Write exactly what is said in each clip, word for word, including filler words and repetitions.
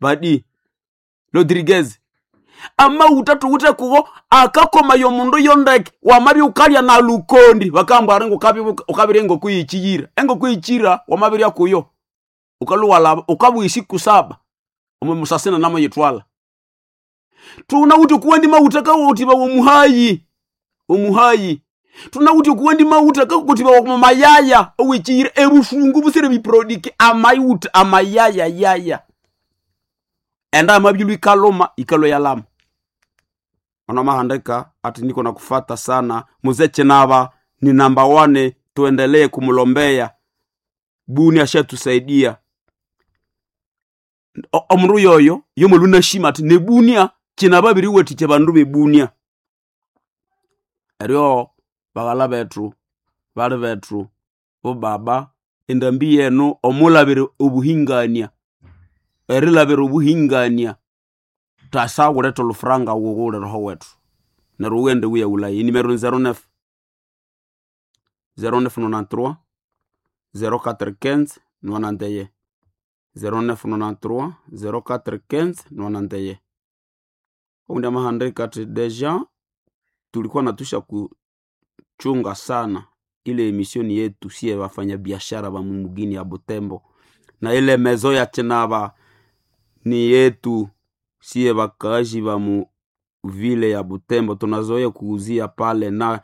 Badi Rodriguez amauta tuwite kugo akakomaya omundu yondeke wamabya ukalya na lukondi bakamba ari ukabirya engoko yekiyira. Engoko yekiyira wamabirya kuyo ukalhuwalaba ukabugha esiku saba omo musasina namuyithwala. Thunawithe okuwandi mawutha akawathibawa omuhayi omuhayi. Thunawithe okuwandi mawutha akawathibawa omo mayaya owekiyira ebusungu busire biprodiki amawutha amayaya yaya. Enda yamabyalhwa ikalhuma yikalhwa yalhama. Ono amahandika ati niko nakufata sana Mzee Chinaba ni namba wane, tuendelee kumulombea Buni ashatusaidia. Omundu yoyo yomulhu nashima ati nebunia Chinaba abiriwathikya abandu bebunia. Eryo baghalha bethu, bali bethu, bobaba endambi yenu omulabira obuhingania, erilabira obuhingania thasawuletha olhufuranga wughule roho wethu neryo wughende wuyaghulaye. Enimero ni zero neuf, zero neuf nonante-trois, zero quatre quinze, nonante et un, zero neuf nonante-trois, zero quatre quinze, nonante et un. Owundi amahandika athi deja tulikuwa natusha kuchunga sana ile emisioni yetu siye wafanyabiashara ba mumugini ya Butembo na ile mezo ya Chinaba ni yetu siye wakaaji ba mu vile ya Butembo tunazoea kuuzia pale, na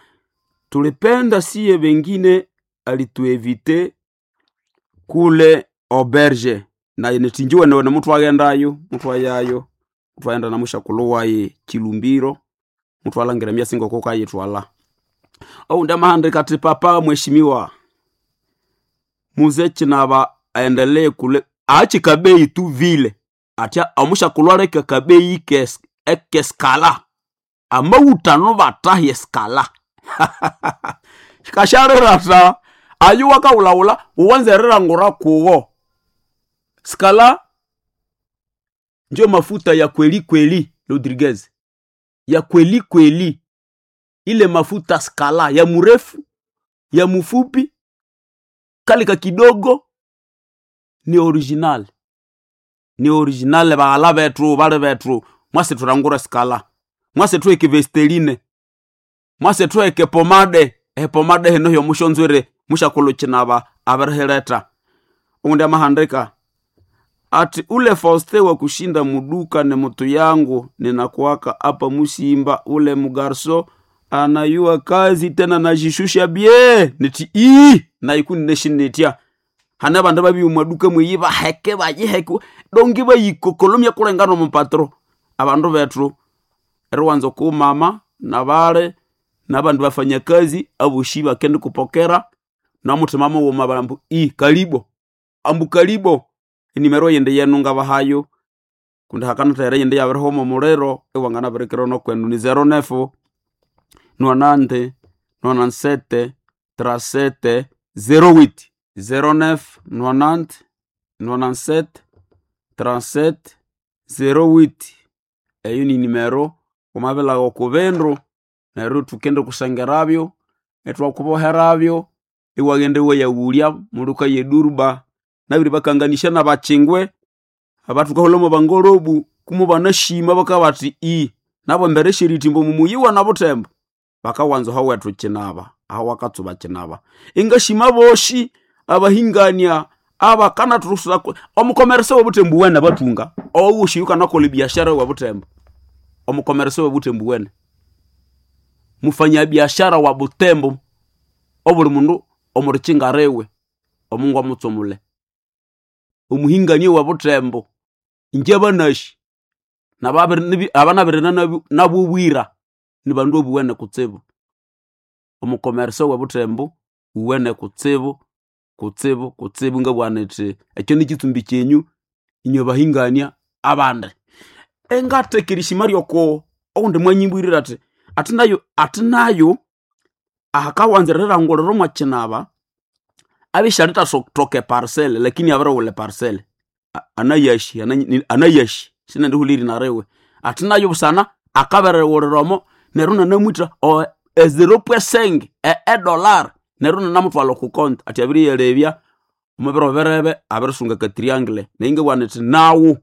tulipenda siye wengine alituevite kule auberge na nitinjiwe newe muthu aghendayo muthu ayayo muthu aghenda na mushakulhu wayi Chilumbiro muthu alangira emyasi ngoko kayithwala. Owundi amahandika athi papa mheshimiwa Mzee Chinaba aendelee kule aache kabeyi tu vile atya omushakulhu aleke akabeyi ekeskala amawutha batahi eskala kashalirata ayu wakawulawula wuwanze erilangura kuwo skala njo mafuta ya kweli kweli Rodriguez ya kweli kweli ile mafuta skala ya murefu ya mufupi kalika kidogo ni original ni original baghala bethu bali bethu mwase thurangura skala mwase thuheke vesteline mwase thuheke pomade epomade hino hyomushonzwire mushakulhu Chinaba abirihiletha. Owundi amahandika ati ule Faustin wa kushinda muduka ni mutu yangu ninakuwaka apa Musimba ule mugarso anayua kazi tena najishusha bie niti ii naikuni neshinitya hane abandu babiri mwaduka mweyi baheke bayiheke dongi bayikokolomya kulengana omupatro abandu bethu eriwanza okumama nabale nabandu bafanyakazi aboshi bakende kupokera nomuthima mughuma bambu ii kalibo ambu kalibo enimero yindi yenu ngabahayo kundi hakanathaghira eyindi iyabirihuma omuliro iwanganabirikira nokwenu ni zero neuf nonante nonante-sept trente-sept zero huit zero neuf nonante nonante-sept trente-sept zero huit eyo ni nimero wamabilagha oko bindu neryo thukende kusengerabyo ithwakuboherabyo iwaghenda iwayaghulya mulhuka ye Durba nabiribakanganisya nabakyingwe abathukahulha mwabangorobu kumubanashima bakabugha bathi ii nabo embere syerithimba omumuyi na Butembo bakawanza ahawethu Chinaba ahawakatsuba Chinaba. Ingashima aboshi abahingania abakanathusako omukomeresa webuthembu wene abathunga owosi yukanakolha ebiashara wa Butembo omukomeresa webuthembu wene mufanyabiashara wa Butembo obuli mundu omurikyinga riwe omungu amutsumule omuhingania wa Butembo ingye banasi abanabirina nabobwira nibandu obuwene kutsibu. Omukomeresa webuthembo uwene kutsibu kutsibu kutsibu ngabugha nithi ekyo nikitsumbi kyenyu inywe bahingania abandi. Engatheka erishima ryoko owundi mwanyimbwirire athi athi nayo athi nayo ahakawanza erilangulira omwa Chinaba abya isyalithathoka eparcel lakini abirighulha eparcel anayashi anayashi sinendihulha erina riwe athi nayo busana akabirighulira omo neryo inanamwitha e zero point cinq edollar neryo inanamuthwalha oko konti athi abiriyalebya omubiro birebe abirisunga aka triangle neryo ingabugha nithi nawu